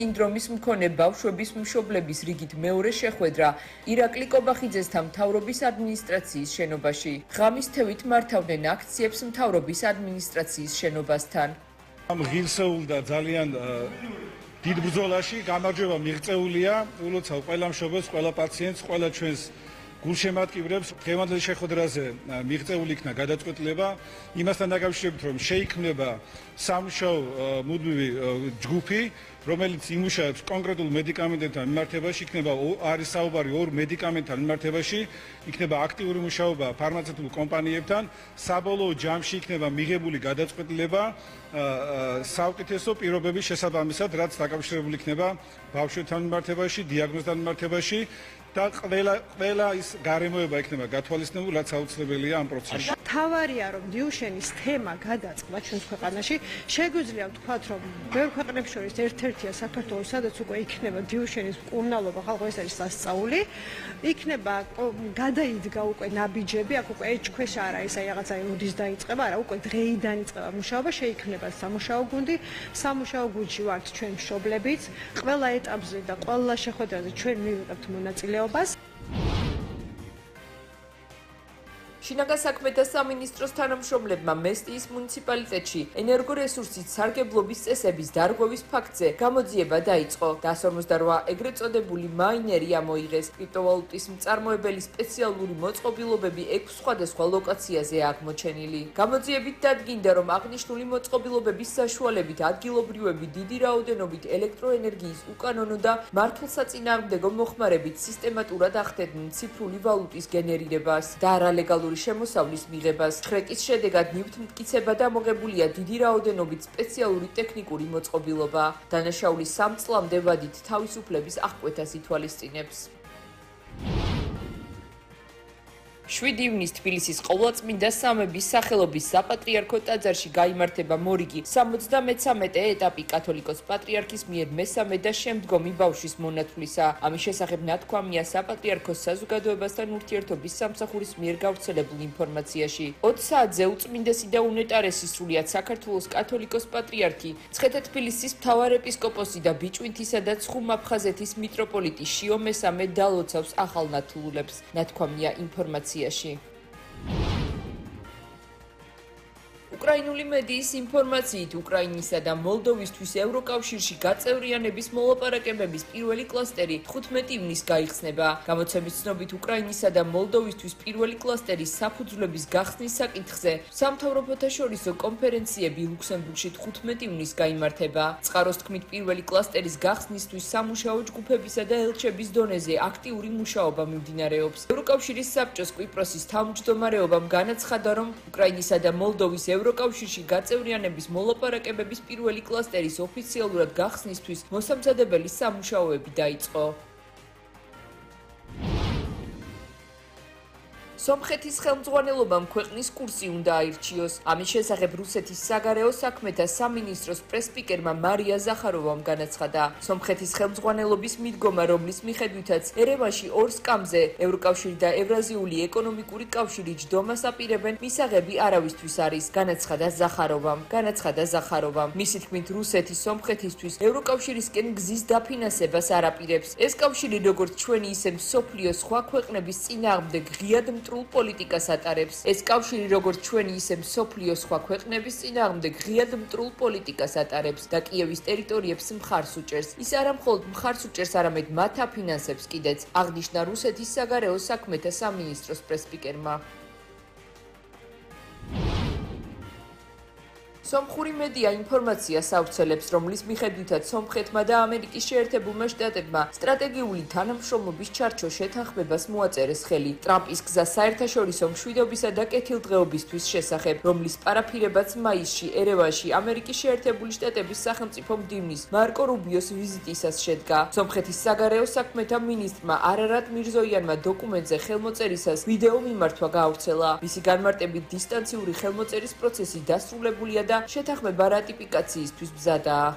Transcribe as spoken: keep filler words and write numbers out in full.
სინდრომის მქონე ბავშვების მშობლების რიგით მეორე შეხვედრა ირაკლი კობახიძესთან მთავრობის ადმინისტრაციის შენობაში. ღამის თევით მართავდნენ აქციებს მთავრობის ადმინისტრაციის შენობასთან. ღირსეულ და ძალიან დიდ ბრძოლაში გამარჯვება მიღწეულია ულოცავ ყველა მშობელს, ყველა პაციენტს, ყველა ჩვენს გულშემატკივრებს. დღევანდელ შეხვედრაზე მიღწეული იქნა გადაწყვეტილება იმასთან დაკავშირებით, რომ შეიქმნება სამუშაო მუდმივი ჯგუფი, რომელიც იმუშავებს კონკრეტულ მედიკამენტებთან მიმართებაში, იქნება არის საუბარი ორ მედიკამენტთან მიმართებაში, იქნება აქტიური მუშაობა ფარმაცევტულ კომპანიებთან, საბოლოო ჯამში იქნება მიღებული გადაწყვეტილება საუკეთესო პირობების შესაბამისად, რაც დაკავშირებული იქნება ბავშვებთან მიმართებაში, დიაგნოზთან მიმართებაში და ყველა ყველა ის გარემოება იქნება გათვალისწინებული, რაც აუცილებელია ამ პროცესში. თავარია რომ დიუშენის თემა გადაწყდა ჩვენს ქვეყანაში. შეგვიძლია ვთქვათ, რომ ბევრ ქვეყნებს შორის ერთ-ერთია საქართველოს, სადაც უკვე იქნება დიუშენის მკურნალობა, ხალხო ეს არის სასწაული. იქნება გადაიდგა უკვე ნაბიჯები, აქ უკვე ეჭქვეშ არა ეს აი რაღაცა ოდის დაიწყება, არა უკვე დღეიდან იწყება მუშაობა, შეიქმნება სამუშაო გუნდი. სამუშაო გუნდში ვართ ჩვენ მშობლებიც. ყველა ეტაპზე და ყველა შეხვედრაზე ჩვენ მივიღებთ მონაწილეობას. შინაგან საქმეთა სამინისტროს თანამშრომლებმა მესტიის მუნიციპალიტეტში ენერგორესურსის სარგებლობის წესების დარღვევის ფაქტზე გამოძიება დაიწყო. დას ორმოცდაოთხ ეგრეთ წოდებული მაინერი ამოიღეს. კრიპტოვალუტის მწარმოებელი სპეციალური მოწყობილობები ექვს სხვადასხვა ლოკაციაზე აღმოჩენილი. გამოძიებით დადგინდა, რომ აღნიშნული მოწყობილობების საშუალებით ადგილობრივები დიდი რაოდენობით ელექტროენერგიის უკანონო და მართლსაწინააღმდეგო მოხმარებით სისტემატურად ახდენდნენ ციფრული ვალუტის გენერირებას და არალეგალური შემოსავლის მიღებას. შრეკის შედეგად ნივთი მტკიცება დამოღებულია დიდი რაოდენობით სპეციალური ტექნიკური მოწყობილობა. დანაშაული სამ წლამდე ვადით თავისუფლების აღკვეთას ითვალისწინებს. შვიდი ივნისს თბილისის ყოვლადწმინდა სამების სახელობის საპატრიარქო ტაძარში გაიმართება მორიგი სამოცდამეცამეტე ეტაპი კათოლიკოს პატრიარქის მიერ მესამე და შემდგომი ბავშვის მონათვლისა. ამის შესახებ ნათქვამია საპატრიარქოს საზოგადოებასთან ურთიერთობის სამსახურის მიერ გავრცელებულ ინფორმაციაში. ოც საათზე უწმინდესი და უნეტარესი სრულიად საქართველოს კათოლიკოს პატრიარქი, მცხეთა-თბილისის მთავარეპისკოპოსი და ბიჭვინთისა და ცხუმ-აფხაზეთის მიტროპოლიტი შიო მესამე დალოცავს ახალ ნათლულებს. ნათქვამია ინფორმაციაში. უკრაინული მედიის ინფორმაციით უკრაინისა და მოლდოვისთვის ევროკავშირში გაწევრიანების მოლაპარაკებების პირველი კლასტერი თხუთმეტი ივნისს გაიხსნება. გამოცემის ცნობით უკრაინისა და მოლდოვისთვის პირველი კლასტერის საფუძვლების გახსნის საკითხზე სამთავრობოთა შორისო კონფერენციები ლუქსემბურგში თხუთმეტი ივნისს გაიმართება. წყაროს თქმით, პირველი კლასტერის გახსნისთვის სამუშაო ჯგუფებისა და ელჩების დონეზე აქტიური მუშაობა მიმდინარეობს. ევროკავშირის საბჭოს კვიპროსის თავმჯდომარეობამ განაცხადა, რომ უკრაინისა და მოლდოვის ევროკავშირში გაწევრიანების მოლაპარაკებების პირველი კლასტერის ოფიციალურად გახსნისთვის მოსამზადებელი სამუშაოები დაიწყო. სომხეთის ხელმძღვანელობამ ქვეყნის კურსი უნდა აირჩიოს. ამის შესახებ რუსეთის საგარეო საქმეთა სამინისტროს პრესსპიკერმა მარია ზახაროვამ განაცხადა. სომხეთის ხელმძღვანელობის მიდგომა, რომლის მიხედვითაც ერევანში ორ სკამზე ევროკავშირი და ევრაზიული ეკონომიკური კავშირი ჯდომას აპირებენ, მისაღები არავისთვის არის, განაცხადა ზახაროვამ. განაცხადა ზახაროვამ. მისი თქმით, რუსეთი სომხეთისთვის ევროკავშირისკენ გზის დაფინანსებას არ აპირებს. ეს კავშირი როგორც ჩვენი, ისე მსოფლიოს სხვა ქვეყნების წინააღმდეგ ღიად პოლიტიკას ატარებს. ეს კავშირი როგორც ჩვენი, ისე მსოფლიოს სხვა ქვეყნების წინააღმდეგ ღიად მტრულ პოლიტიკას ატარებს და კიევის ტერიტორიებს მხარს უჭერს. ის არა მხოლოდ მხარს უჭერს, არამედ მათ აფინანსებს კიდეც, აღნიშნა რუსეთის საგარეო საქმეთა სამინისტროს პრესსპიკერმა. სომხური მედია ინფორმაციას ავრცელებს, რომლის მიხედვითაც სომხეთმა და ამერიკის შეერთებულმა შტატებმა სტრატეგიული თანამშრომლობის ჩარჩო შეთანხმებას მოაწერეს ხელი ტრამპის გზა საერთაშორისო მშვიდობისა და კეთილდღეობისთვის შესახებ, რომლის პარაფირებაც მაისში ერევანში ამერიკის შეერთებული შტატების სახელმწიფო მდივნის მარკო რუბიოს ვიზიტისას შედგა. სომხეთის საგარეო საქმეთა მინისტრმა არარატ მირზოიანმა დოკუმენტზე ხელმოწერისას ვიდეო მიმართვა გაავრცელა. მისი განმარტებით დისტანციური ხელმოწერის პროცესი დასრულებულია და შეთანხმება რატიფიკაციისთვის მზადაა.